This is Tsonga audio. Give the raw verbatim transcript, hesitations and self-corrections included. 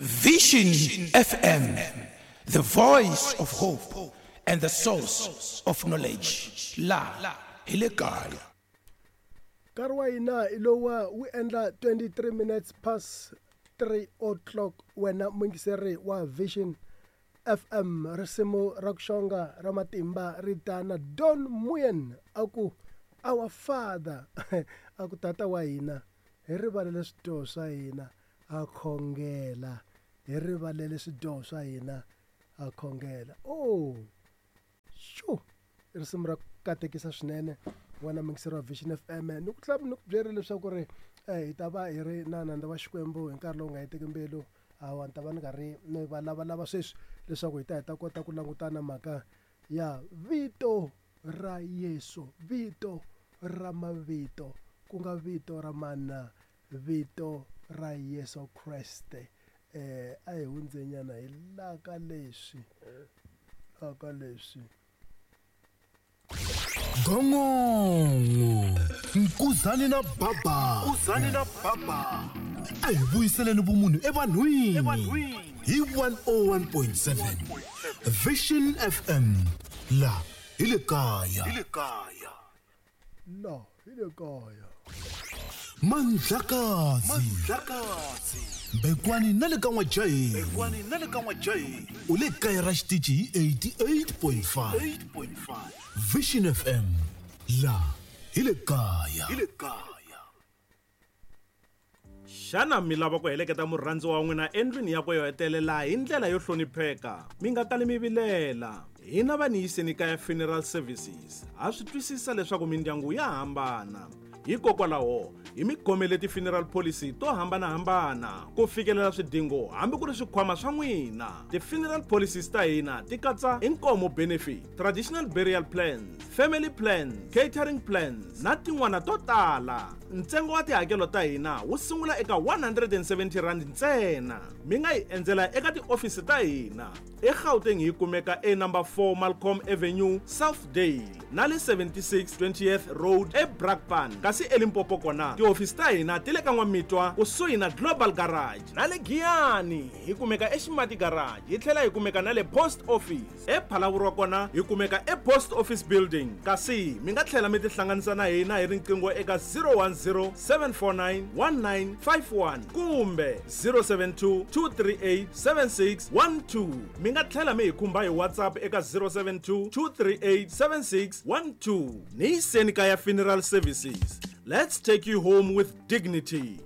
Vision F M, the voice of hope and the source of knowledge. La hi le kaya. Nkarhi wa hina hi lowa wu endla twenty-three minutes past three o'clock wena muyingiseri wa Vision F M risimu ra ku xonga ra matimba ri ta na Don Moen a ku Our Father a ku tata wa hina hi rivalele swidyoho swa hina a khongela hi rivalele swidyoho swa hina a khongela. Oh shu risimu ra katekisa swinene wena muyingiseri wa Vision F M ni ku tlhela ni ku byela leswaku ri hi ta va hi ri na nandza wa Xikwembu hi nkarhi lowu nga hetiki mbilu hawa ni ta va ni karhi ni va lavalava sweswi leswaku hi ta hi ta kota ku langutana mhaka ya vito ra Yesu, vito ra mavito ku nga vito ra mana, vito ra Yesu Kreste. Eh a hi hundzenyana hi la ka leswi la ka leswi Gongongo Nkuzani na Baba Nkuzani na Baba a hi vuyiseleni vumunhu evanhwini hi one oh one point seven Vision F M la hi le kaya hi le kaya la hi le kaya Mandlakazi Mandlakazi Bekwani na le ka N'wajahi Bekwani na le ka N'wajahi u le kaya ra xitichi hi eighty-eight point five Vision F M la hi le kaya hi le kaya. Xana mi lava ku heleketa murhandzi wa n'wina endlwini yakwe yo hetelela hi ndlela yo hlonipheka? Mi nga kali mi vilela. Hina va Niyiseni Kaya Funeral Services ha swi twisisa leswaku mindyangu ya hambana. Hikokwalaho hi mi khomele ti-funeral policy to hambanahambana ku fikelela swidingo hambi ku ri swikhwama swa n'wina. Ti-funeral policies ta hina ti katsa inkomo benefit, traditional burial plans, family plans, catering plans na tin'wana to tala. Ntsengo wa tihakelo ta hina wu sungula eka one hundred and seventy rand ntsena. Mi nga hi endzela eka tiofisi ta hina eGauteng hi kumeka e number four Malcolm Avenue, Southdale na le seventy-six twentieth Road eBrakpan. Kasi eLimpopo kona tiofisi ta hina ti le ka N'wamitwa kusuhi na Global Garage na le Giyani hi kumeka eXimati Garage hi tlhela hi kumeka na le Post Office. ePhalaborwa kona hi kumeka ePost Office Building. Kasi mi nga tlhela mi tihlanganisa na hina hi riqingho eka zero one zero seven four nine one nine five one kumbe zero seven two two three eight seven six one two. Mi nga tlhela mi hi khumba hi WhatsApp eka zero seven two two three eight seven six one two. Niyiseni Kaya Funeral Services. Let's take you home with dignity.